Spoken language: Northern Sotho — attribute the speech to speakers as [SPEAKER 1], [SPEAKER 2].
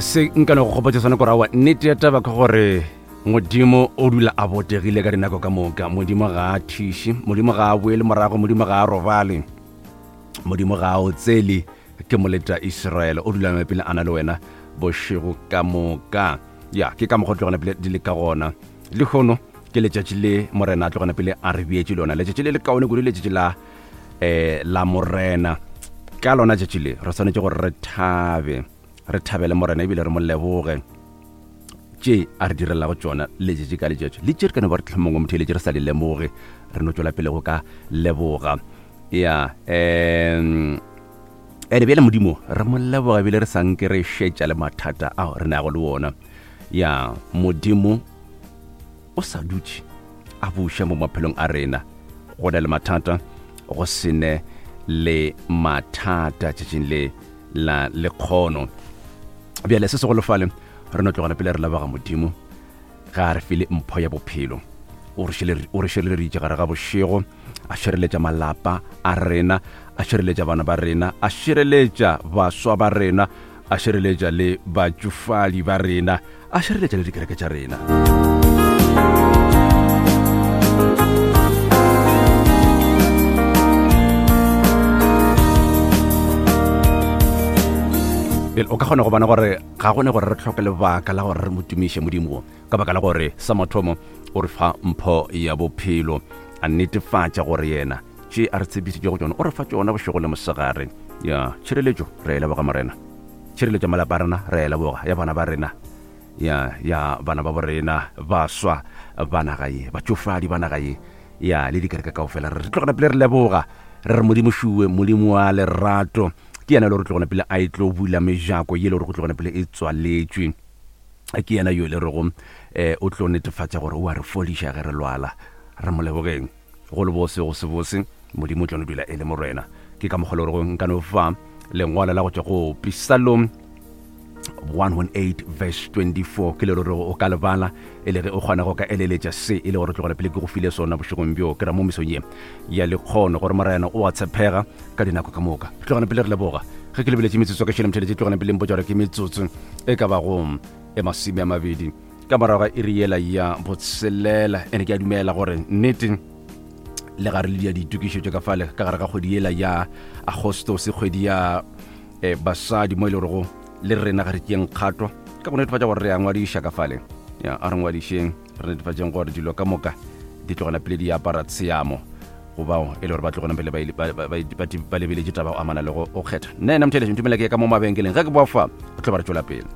[SPEAKER 1] Se nka no go gopotša sona kore aowa, nnete ya taba ke gore Modimo o dula a botegile ka dinako ka moka. Modimo ga a thiše, Modimo ga a boele morago, Modimo ga a robale, Modimo ga a otsele. Ke moleta Israele, o dula pele a na le wena bošego ka moka. Ya, ke ka mokgwa o tlogana pele di le ka gona. Lehono ke letšatši le Morena a tlogana pele a re beetše lona, letšatši le le kaone kudu, letšatši la eh la Morena. Ka lona tšatši le re swanetše gore re thabe, re thabele Morena ebile re mo leboge tše a re direlago tšona letšatši ka letšatši, le tše re ka no ba re tlhomongwe motho eletše re sa di lemoge, re no tšwela pele go ka leboga. Ya, um ene bjale Modimo re mo leboga ebile re sa nke re šetša le mathata ao re nago le wona. Ya, Modimo o sa dutše a buša mo maphelong a rena, go na le mathata, go se ne le mathata tšatšing le la lekgono. Bjale se segolofale re no tlogela pele re leboga Modimo ga a re file mpho ya bophelo. O re šireleditše gare ga bošego, a šireletša malapa a rena, a šireletša bana ba rena, a šireletša baswa ba rena, a šireletša le batšofadi ba rena, a šireletša le dikereke tša rena. Bjale o ka kgona go bona gore ga gone gore re hloke lebaka la gore re mo tumiše Modimo wo, ka baka la gore sa mathomo o re fa mpho ya bophelo, a netefatša gore yena tše a re tshepišitšego tšona o re fa tšona bošego le mosegare. Ya tšhireletšo re e leboga Morena, tšhireletšo ya malapa a rena re e leboga, ya bana ba rena, ya ya bana ba borena, baswa ba naga ye, batšofadi ba naga ye, ya le dikereke kaofela. Re tlogela pele re leboga, re re Modimo šuwe, Modimo wa lerato, ke yena le gore tlogela pele a e tlo bula mejako ye le gore go tlogela pele e tswaletšwe. Ke yena yo le rego um o tlo netefatša gore o a re fodiša ge re lwala. Re mo lebogeng. Go le bose go se bose, Modimo o tlo no dula e le Morena. Ke ka mokgwa le gore nka no fa lengwalo la go tšwa go Pisalom 118 verse 24, ke le gore o ka lebala e le ge o kgona go ka eleletša se e le gore tlogela pele ke go file sona bošegong bjo, ke ra mo mesong ye ya lekgono, gore Morena o a tshepega ka dinako ka moka. Tlogela pele re leboga. Ge ke lebeletše metsotso ka šele motšheletše, tlogela pele mpotša gore ke metsotso e ka bago e masome a mabedi ka morago ga iri yela ya botshelela. Ene ke a dumela gore nnete le gare le dia ditokišetšo ka fale ka gare ga kgwedi yela ya Agostose, kgwedi ya eh, basadi, mo e le gorego le rena ga re tšeeng kgato ka go netefatša gore re a ngwadiša ka fale. Ya, a re ngwadišeng, re netefatšeng gore dilo ka moka di tlogela pele di apara tsheamo go bao e le gore ba tlogela pele ba lebeletše taba go amana le go kgetha. Nna ena motheletši ntumela ke ya ka mo mabenkeleng, ge ke boa fa re tlo ba re tšwela pele.